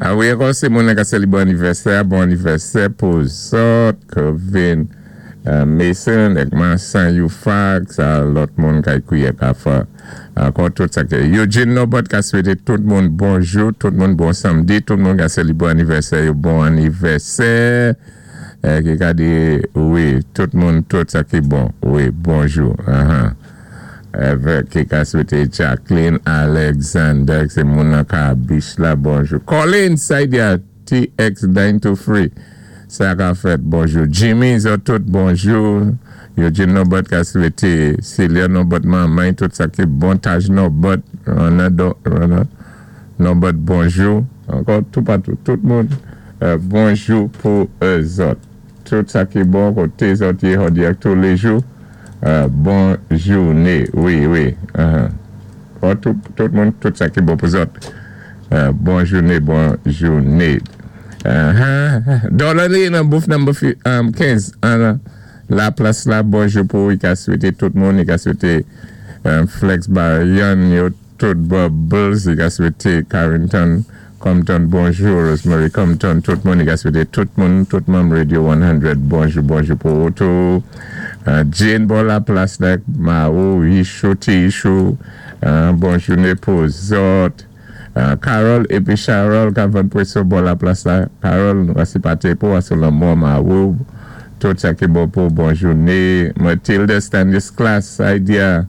A wi, ankò sé moun ka sélébwé anivèsè, bon anivèsè pou zòt, Kevin Mason, èk Mansan Youfax, sa lòt moun kay kwiyè ka fè. Ankò tout sa ké Eugene Nobot ka swété tout moun bonjou, tout moun bon sanmdi, tout moun ka sélébwé anivèsè yo, bon anivèsè. Ki ka di wi, tout moun, tout sa ki bon. Wi, bonjou. Avèk ki ka swété Jacqueline Alexander, sé moun nan ka beach la, bonjou. Colin Saidia, TX923, sa ka fèt, bonjou. Jimmy, zòt tout, bonjou. Eugene Nobot ka swété Celia Nobot, manman, tout sa ki bon, Taj Nobot, Rona, Rona Nobot, bonjou. Ankò tout patou, tout moun, bonjou pou zòt. Tout sa ki bon, koté zòt yé jòdi ak tous les jours. Bon jouné, wi. Uh-huh. Tout moun, tout sa ki bon pou zòt. Bon jouné, bon jouné. Dollar nan booth number 15 an la plas la, bonjou pou i ka swété tout moun, i ka swété Flex Bayan, yo tout Bubbles, i ka swété Carrington Compton, bonjou, Rosemary Compton, tout moun, i ka swété tout moun, tout moun Radio 100, bonjou, bonjou pou tou. Jane bò la plas la, Mao, Ishu, Tishu, bon jouné pou zòt. Carol épi Charol ka vann pwéson bò la plas la. Carol, nou ka pou asou lanmò Mao, tout sa ki bon pou bon jouné. Matilda Stanislas, Idea,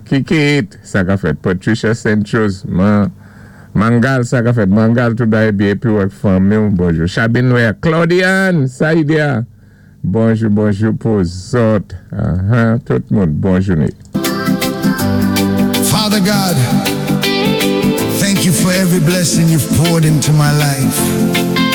Kikit, sa ka fèt. Patricia St. Chose, Mangal, sa ka fèt. Mangal, tout bagay byen, épi ak fanmi, bonjou. Chabine Noël, Claudiane, Saïdia, bonjou, bonjou pou zòt. Tout moun, bon jouné. Father God, thank you for every blessing you've poured into my life.